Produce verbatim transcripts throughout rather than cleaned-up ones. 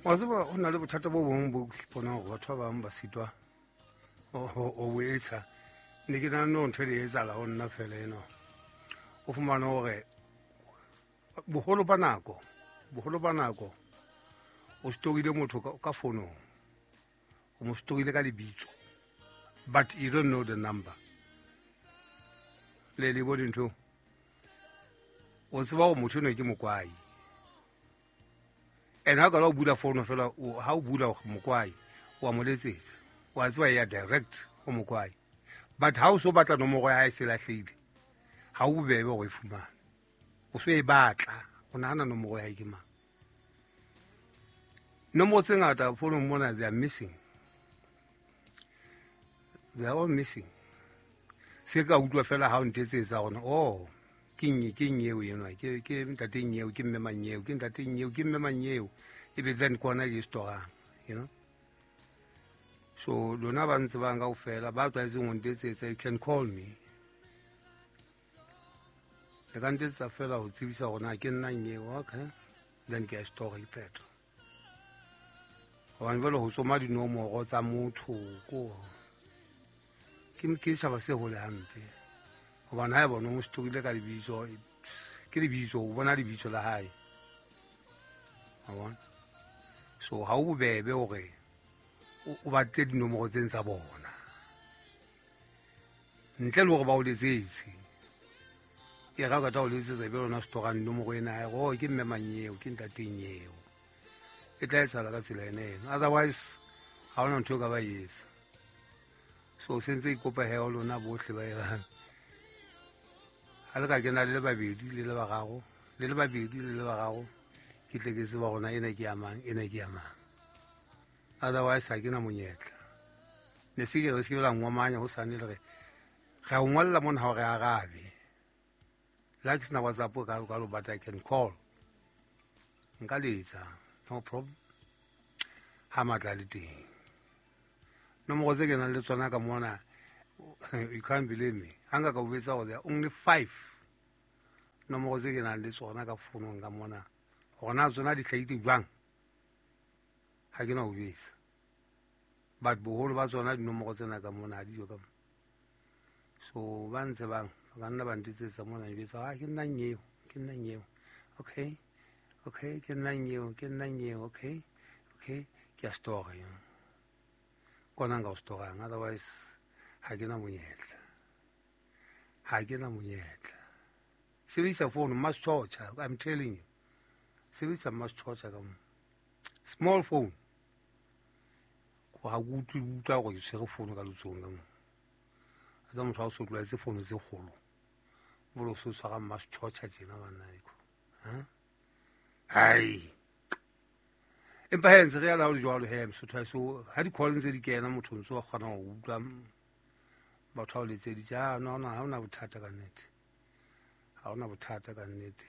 Wa tseba ho na le bothata bo bong bo ke bonang hore batho ba bang ba sitwa ho bo etsa. Ne ke nahana hore ntho e etsahala ho nna fela ena. O fumane hore boholo ba nako, boholo ba nako o storile motho ka fonong. O mo storile ka lebitso. But you don't know the number. Le le bo dintho. O tseba hore motho enwa ke mokwai. And ha ka la o bula phone fela, ha o bula mokwai, wa mo letsetsa. Wa tseba ya direct ho mokwai. But ha o so batla nomoro ya hae se lahlehile, ha o bobebe hore e fumane. O so e batla, o nahana nomoro ya hae ke mang. Nomoro tse ngata founong mona, they are missing. They are all missing. Se ka utlwa fela ha o ntetsetsa hore, oh, ke eng, ke eng eo enwa, ke ke ntate eng eo, ke mme mang eo, ke ntate eng eo, ke mme mang eo. Ebe then kona ke storang, you know. So lona ba ntse bang kaofela ba tlwaetseng ho ntetsetsa, you can call me. Le ka ntetsetsa fela ho tsebisa hore na ke nna eng eo, okay. Then ke a store ke phetho. Hobane jwale ho tsoma dinomoro tsa motho ko ke ke setjhaba se hole hampe. Hobane ha e bona o mo storile ka lebitso, ke lebitso, o bona lebitso la hae. Wa bona? So ha o bobebe hore o batle dinomoro tseng tsa bona. Ntle le hore ba o letsetse. E ra ka tla o letsetsa ebe lona storang nomoro ena ya oh ke mme mang eo, ke ntateng eo. E tla etsahala ka tsela ena eno. Otherwise ha hona ntho e ka ba etsa. So sentse ke kopa he ho lona bohle ba erang. Ha le ka kena le le babedi le le bararo, le le babedi le le bararo, ke tle ke tseba hore na ena ke ya mang, ena ke ya mang. Otherwise ha ke na monyetla. Ne se ke re se ke la ngomanya hosane le re re a o ngolla mona ha o re arabe. Le ha ke sena WhatsApp ka ka lo but I can call. Nka letsa, no problem. Ha matla le teng. Nomoro tse ke nang le tsona ka mona, you can't believe me. Ha nka ka o botsa hore there are only five nomoro tse ke nang le tsona ka founong ka mona. Hore na tsona di hlahile jwang, ha ke na ho besa. But boholo ba tsona dinomoro tsena ka mona ha di yo ka mona. So ba ntse bang, ba ka nna ba ntetsetsa mona njwetsa, ah ke nna eo, ke nna eo. Okay, okay, ke nna eo, ke nna eo, okay, okay, ke a store, you know. Kona nka o storang, otherwise ha ke na monyetla. Ha ke na monyetla. Sebedisa phone, mass torture, I'm telling you. Sebedisa mass torture ka mo. Small phone. Ko ha ke utlwe utlwa hore ke tshwere phone ka letsohong ka mo. Tsa motho ha o so tlwaetse phone tse kgolo. Bolo so tshwara mass torture tjena banna eko. Ha? Hai. Empa he ntse re ya la ho le jwalo he Mosotho ha so ha di-call ntse di kena motho ntse wa kgona ho utlwa batho ha o letseditse. Ah no no, ha hona bothata ka nnete. Ha hona bothata ka nnete.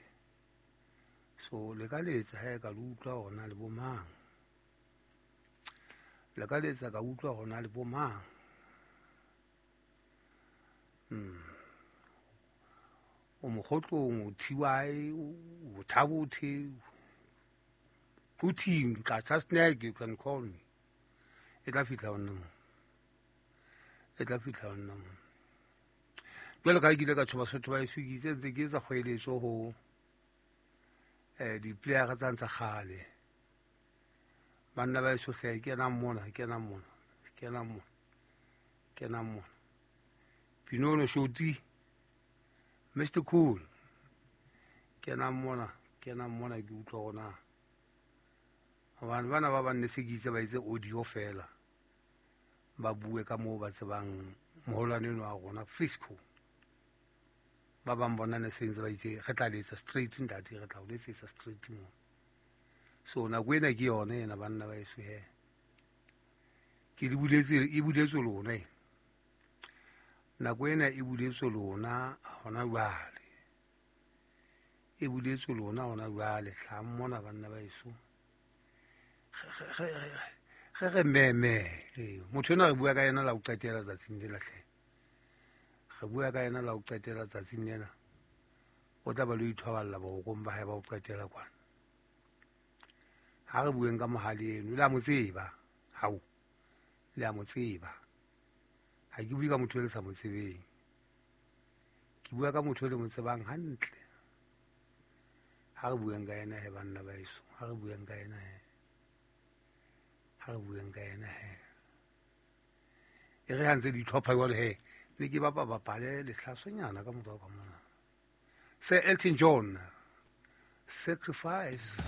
So le ka letsa he ka le utlwa hore na le bo mang. Le ka letsa ka utlwa hore na le bo mang. Mm. O mokgotlong, o T Y, o Thabothe, o team, Qacha Snack, you can call me. E tla fihla ho nna mo. E tla fihla ho nna mo. Jwale ka ha ke ile ka tjho Basotho ba heso, ke itse ntse ke etsa kgoeletso ho eh di-player tsa tsa kgale. Banna ba heso hle, kenang mona, kenang mona, kenang mona, kenang mona. Pinono Shoti, Mister Cool, kenang mona, kenang mona ke utlwa hore na. Hobane bana ba bang ne se ke itse ba etse audio fela. Ba bue ka moo ba tsebang moholwane enwa wa rona Frisco. Ba bang bona ne se ntse ba itse re tla letsa straight ntate, re tla o letsetsa straight mo. So nako ena ke yona ena banna ba heso he. Ke le buletse, e buletswe lona ena. Nako ena e buletswe lona hona jwale. E buletswe lona hona jwale, hlahang mona banna ba heso. Re re meme. Motho enwa re bua ka yena la ho qetela tsatsing lena hle. Re bua ka yena la ho qetela tsatsing lena. O tla ba lo ithoballa borokong ba hae ba ho qetela kwana. Ha re bueng ka mohale eno, le a mo tseba. Hao, le a mo tseba. Ha ke bue ka motho e le sa mo tsebeng. Ke bua ka motho e le mo tsebang hantle. Ha re bueng ka yena he banna ba heso, ha re bueng ka yena he. Ha re bueng ka yena he. E re ha ntse di tlhopha jwalo he, ne ke bapa bapale lehlasonyana ka morao ka mona. Sir Elton John, Sacrifice.